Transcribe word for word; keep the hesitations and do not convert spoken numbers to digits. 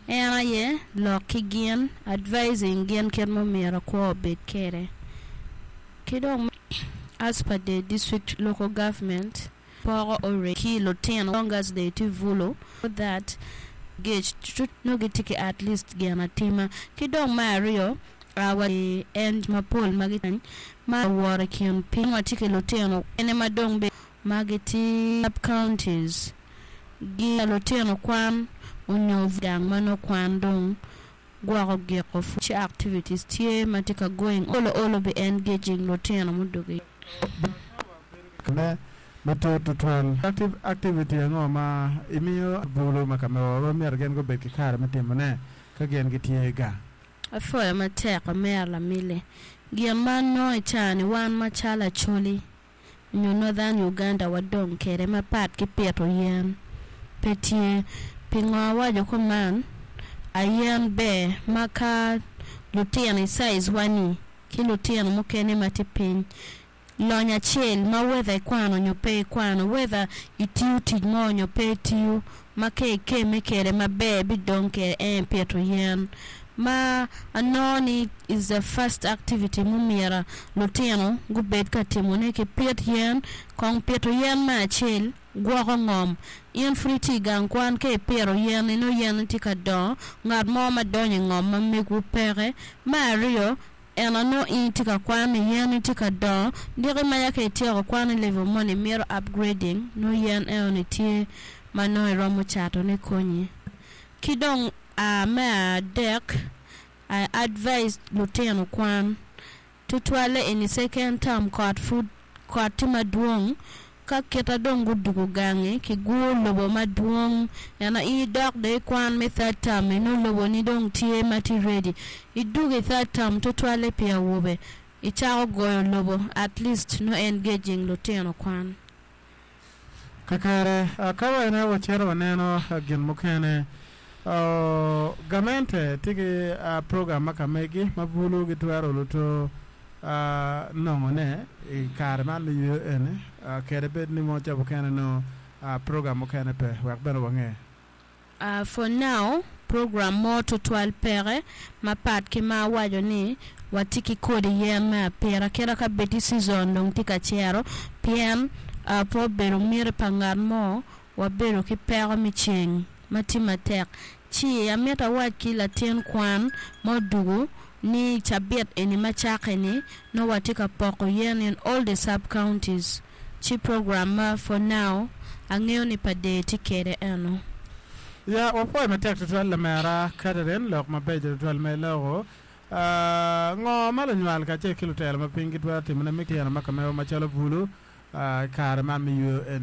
En aye lok ki gin advising gin kit ma myero kwo obed kede. Ki dong as per the district local government poko already ki lutino long as they tye bulu that gauge nongo gitye ki at least gin atima. Ki dong me aryo wa en mapol ma ma wot i kin piny watye ki lutino ene ma dong ma gitye sub counties gi lutino kwan onyo gang ma nongo kwan dong gwoko giko ci activities tye ma tye ka going olo olo be engaging lutino mudwogo Ne matut tutwal active activity ango ma imiyo bulu ma ka mewa ma myero gin gubed ki kare me timone ka gin gitye gang. Apwoyo matek omera Lamili. Gin ma nongo i caa-ni wan macalo Acholi nyo Northern Uganda wadong kede mapat ki pito yen pe tye. Pingo awaco kuman ayen ber ma ka lutino i size wa-ni ki lutino mukene ma tye piny lony acel ma whether ikwano nyo pe ikwano whether itiyo tic mo nyo pe itiyo ma ka ikeme kede maber bidong kede en pito yen ma anongo ni is the first activity mumyero lutino gubed ka timone ki pit yen kong pito yen me acel gwoko ngom in pud itye i gang kwan ka ipito yen inongo yen tye ka dongo ngat mo ma donyo i ngom ma megwu peke. Me aryo eno nongo in itye ka kwan yen tye ka dongo diki maya ka ityeko kwan i level moni imito upgrading nongo yen enoni tye ma nongo iromo catone konyi. Ki dong me adek I advise lutino kwan tutwalle in second term kot pud kot tye madwong ka kita dong gudwogo gangi kiguro lobo madwong eno in idok dong i kwan me third term inongo loboni dong tye ma tye ready idwogo i third term tutwalle pi awobe icako goyo lobo at least nongo engaging lutino kwan. Kakare ka wene wacito waneno gin mukene gamente tye ki program ma ka megi ma bulu gitwero luto nongone i kare man me yweyo eni kede bed ni mo ca mukene nongo program mukene pe wek bene wange. Uh, for now program mo tutwal peke mapat ki ma awaco ni watye ki kodi yen me apita kit ka bed i season dong tye ka cero pien uh, pe obedo miti pa ngat mo wabedo ki peko me ceng ma tye matek ci amito awac ki latin kwan ma odwogo ni cabit eni macake-ni nongo watye ka poko yen in all the sub counties ci program ma for now angeyo ni pa dee tye kede eno. Ya wapwoyo matek tutwal lamera Catherine lok mabeco tutwal ma iloko ngo ma lunywal kacel ki lutelo ma piny gitwero timone me tino ma ka mewa macalo bulu i kare man me yweyo eni.